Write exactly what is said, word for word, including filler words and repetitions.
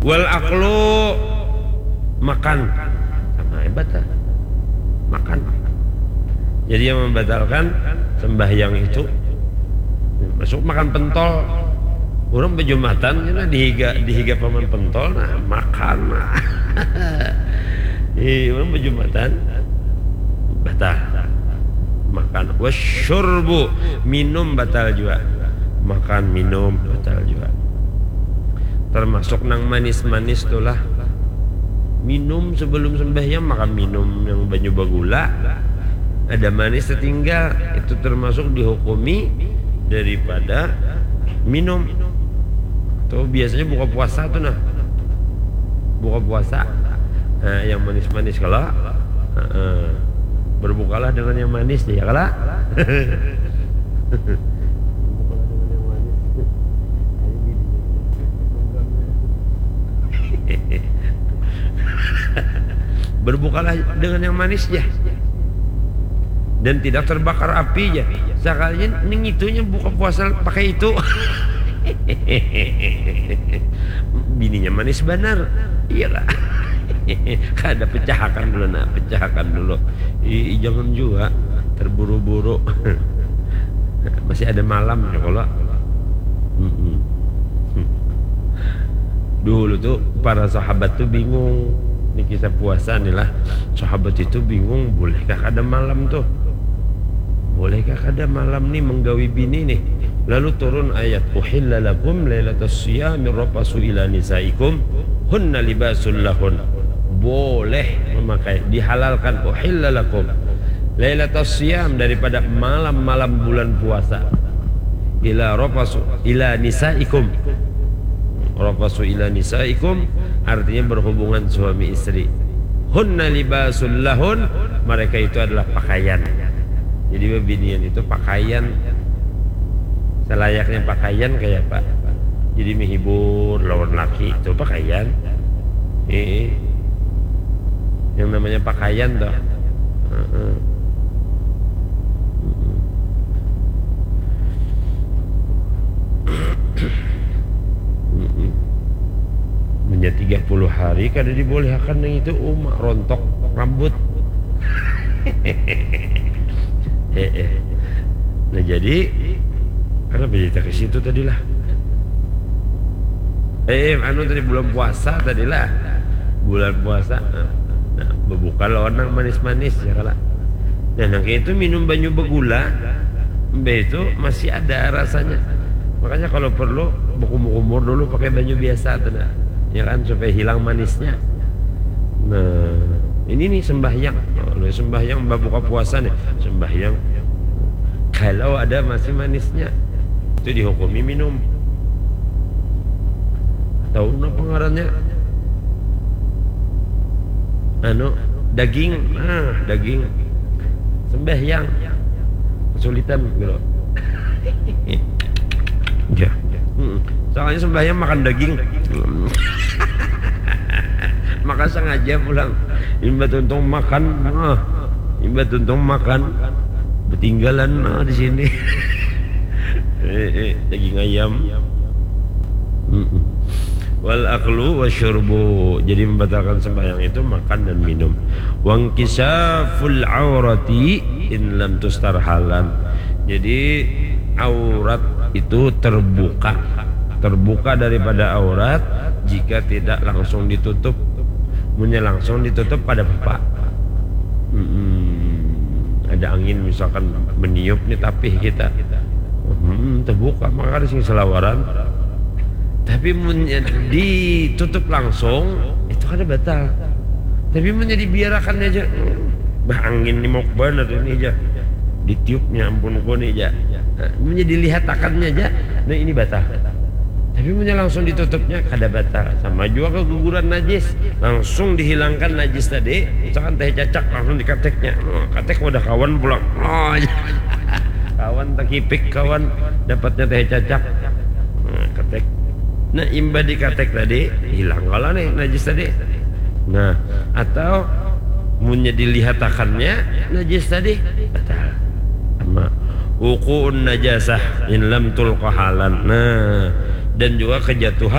Wal aklu, makan. Sama hebat lah. Makan. Jadi yang membatalkan sembahyang itu, masuk makan pentol. Orang bejumatan, ya, dihiga, dihiga paman pentol, nah, makan. Iya, orang bejumatan, batal. Makan. Wasyurbu, minum batal juga. Makan, minum, batal juga. Termasuk nang manis-manis tuh lah. Minum sebelum sembahyang, makan minum yang banyu bagula. Ada manis tertinggal, itu termasuk dihukumi daripada minum. Tuh biasanya buka puasa tuh nah. Buka puasa. Nah, yang manis-manis kalau, heeh. Berbukalah dengan yang manis, ya kalau. Berbukalah dengan yang manis ya. Dan tidak terbakar api ya. Sekalinya ning itunya buka puasa pakai itu. Bininya manis benar. Iyalah. Kada pecahakan dulu nah, pecahakan dulu. Ih, jangan juga terburu-buru. Masih ada malam ya kalau. Mm-mm. Dulu tuh para sahabat tuh bingung. Ini kisah puasa nih lah. Sahabat itu bingung, bolehkah kada malam tuh? Bolehkah kada malam nih menggawi bini nih? Lalu turun ayat, "Uhilla lakum lailatas siyami rafasu ila nisaikum hunna libasul lahun." Boleh memakai, dihalalkan, "Uhilla lakum lailatas siyam," daripada malam-malam bulan puasa. Ila rafasu ila nisaikum. Rafasu ila nisaikum artinya berhubungan suami istri. Hunna libasul lahun, mereka itu adalah pakaian. Jadi bebinian itu pakaian. Selayaknya pakaian kayak apa? Jadi menghibur lawan laki itu pakaian. Eh, yang namanya pakaian toh. Heeh. Mm-mm. Menjadi tiga puluh hari kada dibolehakan yang itu, umak rontok rambut. Eh, eh. Nah jadi karena berita ke situ tadilah. Eh, eh, anu tadi bulan puasa tadilah. Bulan puasa. Nah, nah, berbuka lawan nang manis-manis ya kala. Nah, nang kayak itu minum banyu begula, mbah itu masih ada rasanya. Makanya kalau perlu berkumur-kumur dulu pakai banyu biasa tuh nah. Ya kan supaya hilang manisnya. Nah, ini nih sembahyang. Nah, sembahyang buka puasa nih. Sembahyang kalau ada masih manisnya itu dihukumi minum. Tahu napa ngarannya? Anu, daging. Nah, daging. Sembahyang. Kesulitan gitu. Ya. Mm-mm. Soalnya sembahyang makan daging. Maka sengaja pulang. Imba tuntung makan. Nah, imba tuntung makan. Betinggalan nah, di sini. Eh, eh, daging ayam. Mm-mm. Wal aklu wasyurbu. Jadi membatalkan sembahyang itu makan dan minum. Wangkisaful aurati in lam tustar halan. Jadi aurat itu terbuka. Terbuka daripada aurat jika tidak langsung ditutup. Munnya langsung ditutup pada apa? Mm-mm. Ada angin misalkan meniup nih tapih kita. Hmm, terbuka maka ada sing selawaran. Tapi munnya ditutup langsung itu kada batal. Tapi munnya dibiarakan aja, bah angin ni mau banar ini aja. Ditiupnya ampun ku ni aja. Nah, munnya dilihatakannya aja, nah ini batal. Tapi munnya langsung ditutupnya kada batal. Sama juga keguguran najis, langsung dihilangkan najis tadi. Misalkan teh cacak langsung dikateknya. Oh, katek wadah kawan pulang. Oh, kawan tekipik kawan dapatnya teh cacak. Nah, ketek. Nah, imba dikatek tadi hilang kalau nih najis tadi. Nah, atau munnya dilihatakannya najis tadi batal. Sama wukuun najasah in lam tulqa halan. Nah, dan juga kejatuhan